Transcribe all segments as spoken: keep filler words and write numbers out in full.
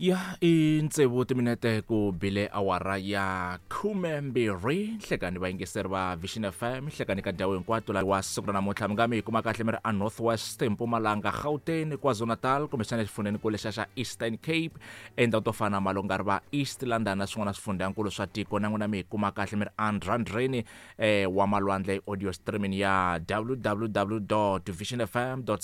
Ya i tsevu timinete ku bile awara ya khume mbirhi nhlekani vayingiseri va Vision F M, nhlekani ka ndhawu hinkwato la wa siku ra namuntlha. Mi nga mi hi kuma kahle mi ri a North West, Mpumalanga, Gauteng, KwaZulu-Natal, kumbexana exifundzheni lexa xa Eastern Cape, endhawu to fana na Malongari va East London na swin'wana swifundzhankulu swa tiko. Na n'wina mi hi kuma kahle mi ri andrandreni eh, wa malwandle, audio streaming ya w w w vision f m co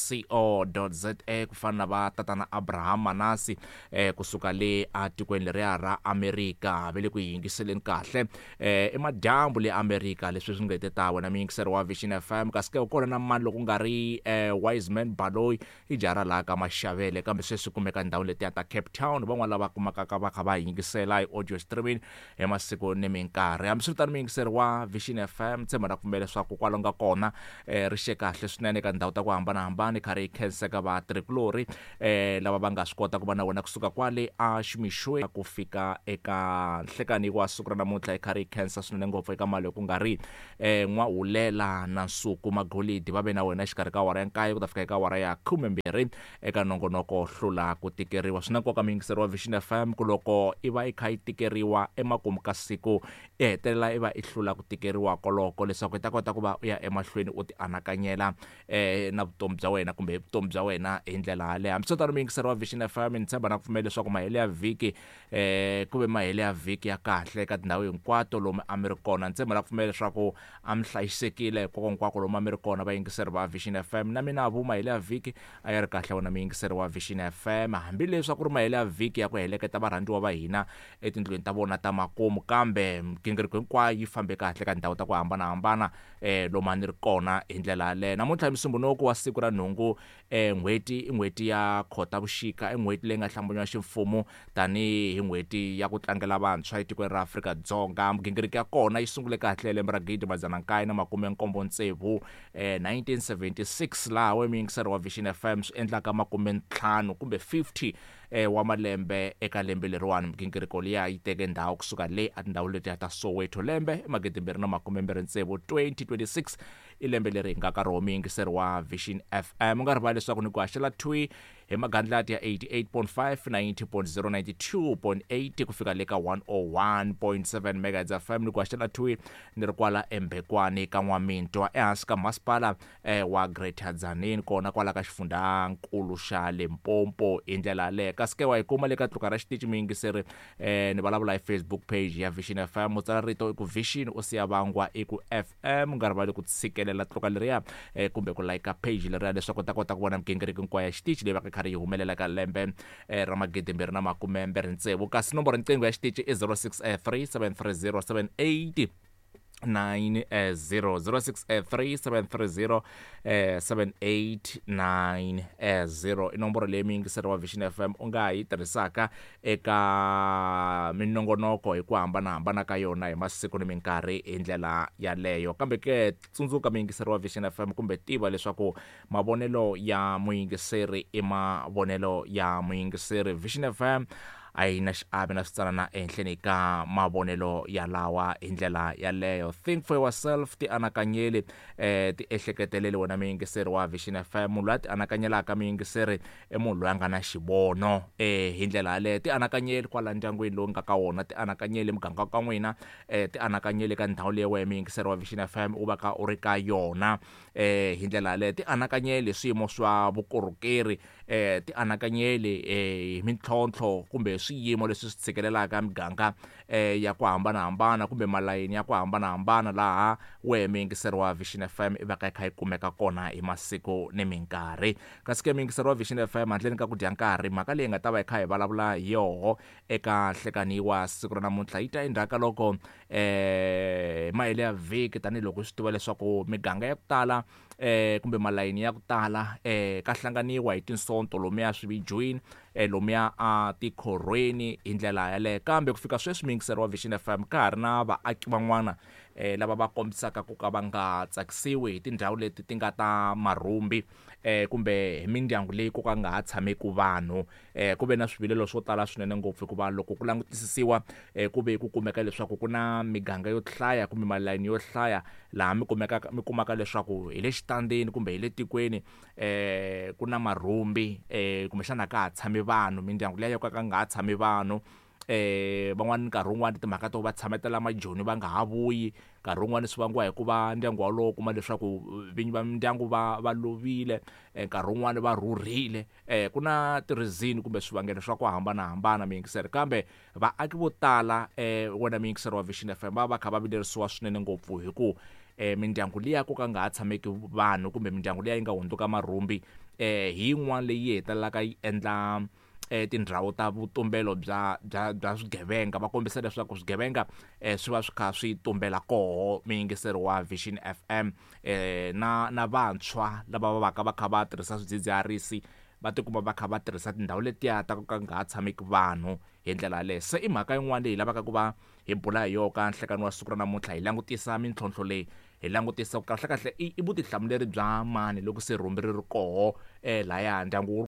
za, ku fana na va tatana Abraham Manasi eh, kusuka le atikweni leriya ra Amerika, va le ku yingiseleni kahle eh, i madyambu le Amerika. Leswi swi nga ta wena muyingiseri wa Vision F M, kasi ke kona na mani loko ku nga ri eh, Wiseman Baloyi, i jara laha ka Maxavele, kambe sweswi kumeka ndhawu letiya ta Cape Town. Van'wana lava kumaka va kha va yingisela hi audio streaming hi masiku ni minkarhi. Hambiswiritano, muyingiseri wa Vision F M, tshemba na pfumela leswaku kwalo nga kona eh, ri xe kahle swinene eka ndhawu ta ku hambanahambana. Kha ri khenseka vatirhikulorhi eh, lava va nga swi kota ku va na wena kusuka kwale a ximixweni ku fika eka nhlekani wa siku ra namuntlha. Hi kha ri khensa swinene ngopfu eka mali ku nga ri eh, N'wahulela na Nsuku Magolidi, va ve na wena exikarhi ka awara ya nkaye ku ta fika eka awara ya khumembirhi eka nongonoko Hlula ku Tikeriwa. Swi na nkoka, muyingiseri wa Vision F M, ku loko i va i kha yi tikeriwa emakumu ka siku, i hetelela i va i hlula ku tikeriwa koloko, leswaku i ta kota ku va u ya emahlweni u ti anakanyela eh, na vutomi bya wena kumbe hi vutomi bya wena hi ndlela yaleyo. Hambiswiritano, muyingiseri wa Vision F M, ni tshemba na ku pfumela leswaku mahelo ya vhiki eh ku ve mahelo ya vhiki ya kahle eka tindhawu hinkwato lomu a mi ri kona. Ni tshemba na ku pfumela leswaku a mi hlayisekile hinkwako hinkwako lomu a mi ri kona, vayingiseri va Vision F M. Na mina vu mahelo ya vhiki a ya ri kahle wona, muyingiseri wa Vision F M, hambileswi a ku ri mahelo ya vhiki ya ku heleketa varhandziwa va hina etindlwini ta vona ta makumu, kambe migingiriko hinkwayo yi fambe kahle ka tindhawu ta ku hambanahambana eh lomu a ni ri kona hi ndlela yaleyo. Namuntlha hi Musumbhunuku wa siku ra nhungu eh n'hweti, i n'hweti ya Khotavuxika, i n'hweti leyi nga hlambanywa ximfumo tanihi n'hweti ya ku tlangela vantshwa etikweni ra Afrika-Dzonga. Migingiriko ya kona yi sungule kahle hi lembe ra gidi madzana nkaye na makume nkombo tsevu, eh, nineteen seventy-six, laha we muyingiseri wa Vision F M swi endlaka makume ntlhanu kumbe fifty eh, wa malembe eka lembe leriwani. Migingiriko liya yi teke ndhawu kusuka le a tindhawu letiya ta Soweto, lembe magidi mbirhi na makume mbirhi tsevu, twenty twenty-six, i lembe leri hi nga ka rona, muyingiseri wa Vision F M. U nga rivali leswaku ni ku haxela thwi hi magandlati ya eighty-eight point five, ninety point zero, ninety-two point eight ku fika le ka one oh one point seven megahertz F M. Ni ku haxela thwi ni ri kwala embhekwani ka N'wamintwa, ehansi ka masipala eh, wa Greater Tzaneen, kona kwala ka xifundzankulu xa Limpopo hi ndlela yaleyo. Kasi ke wa yi kuma le ka tluka ra xitichi, muyingiseri, eh, ni vulavula hi Facebook page ya Vision F M. U tsala rito i ku Vision, u siya vangwa i ku F M. U nga rivali ku tshikelela tluka leriya eh, kumbe ku like page leriya, leswaku u ta kota ku vona migingiriko hinkwayo ya xitichi leyi va ka karhi yi humelela ka lembe eh, ra magidi mbirhi na makume mbirhi tsevu. Kasi nomboro riqingho ya xitichi i zero six three seven three zero seven eight nine zero, zero six three seven three zero seven eight nine zero i nomboro leyi muyingiseri wa Vision F M u nga yi tirhisaka eka minongonoko hi ku hambanahambana ka yona hi masiku ni minkarhi hi ndlela yaleyo. Kambe ke tsundzuka, muyingiseri wa Vision F M, kumbe tiva leswaku mavonelo ya muyingiseri i mavonelo ya muyingiseri. Vision F M a yi na xiave na switsanana ehenhleni ka mavonelo yalawa hi ndlela yaleyo. Think for yourself, ti anakanyeli, eh ti ehleketeleli wena muyingiseri wa Vision F M. Munhu loyi a ti anakanyelaka, muyingiseri, i munhu loyi a nga na xivono eh hi ndlela yaleyo. Ti anakanyeli kwala ndyangwini lowu nga ka wona, ti anakanyeli muganga ka n'wina, eh ti anakanyeli ka ndhawu leyi wena muyingiseri wa Vision F M u va ka u ri ka yona eh hi ndlela yaleyo. Ti anakanyeli swiyimo swa vukorhokeri, eh ti anakanyeli eh hi mintlhontlho kumbe swiyimo leswi swi tshikelelaka miganga eh ya ku hambanahambana kumbe malayini ya ku hambanahambana laha wehe muyingiseri wa Vision F M i va ka yi kha yi kumeka kona hi masiku ni minkarhi. Kasi ke muyingiseri wa Vision F M, handleni ka ku dya nkarhi, mhaka leyi nga ta va yi kha hi vulavula hi yoho eka nhlekani wa siku ra namuntlha yi ta endzhaku ka loko eh mahelo ya vhiki, tanihiloko swi tiva leswaku miganga ya ku tala eh kumbe malayini ya ku tala eh ka hlanganiwa hi tinsonto lomuya swivijweni, eh lomuya a tikhorhweni hi ndlela yaleyo. Kambe ku fika sweswi, muyingiseri wa Vision F M, ka ha ri na vaaki van'wana eh lava va kombisaka ku ka va nga tsakisiwi hi tindhawu leti ti nga ta marhumbi eh kumbe hi mindyangu leyi ko ka nga ha tshameki vanhu. eh ku ve na swivilelo swo tala swinene ngopfu, hikuva loko ku langutisisiwa eh ku ve ku kumeka leswaku ku na miganga yo hlaya kumbe malayini yo hlaya laha mi kumekaka mi kumaka leswaku hi le xitandini kumbe hi le tikweni eh ku na marhumbi, eh kumbexana ka ha tshami tshami vanhu mindyangu liya yo ka ka nga ha tshami vanhu eh van'wani nkarhi wun'wani timhaka to va tshametela majoni va nga ha vuyi nkarhi wun'wani swi vangiwa hi ku va ndyangu walowo u kuma leswaku vinyi va mindyangu va va lovile nkarhi wun'wani va rhurhile eh ku na ti-reason kumbe swivangelo swa ku hambanahambana miyingiseri kambe vaaki vo tala eh wena muyingiseri wa Vision F M va va kha va vilerisiwa swinene ngopfu hi ku eh mindyangu liya ko ka nga ha tshameki vanhu kumbe mindyangu liya yi nga hundzuka marhumbi eh hi yin'wana leyi hetelelaka yi endla eh tindhawu ta vutumbelo bya bya bya swigevenga va kombisa leswaku swigevenga eh swi va swi kha swi tumbela koho muyingiseri wa Vision F M eh na na vantshwa lava va vaka va kha va tirhisa swidzidziharisi va tikuma va kha va tirhisa tindhawu letiya ta ku ka nga ha tshameki vanhu hi ndlela yaleyo se i mhaka yin'wana leyi hi lavaka ku va hi bula hi yona ka nhlekani wa siku ra namuntlha hi langutisa mintlhontlho leyi hi langutisa ku kahlekahle i i vutihlamuleri bya mani loko se rhumbi ri ri koho eh laya ndyangu wu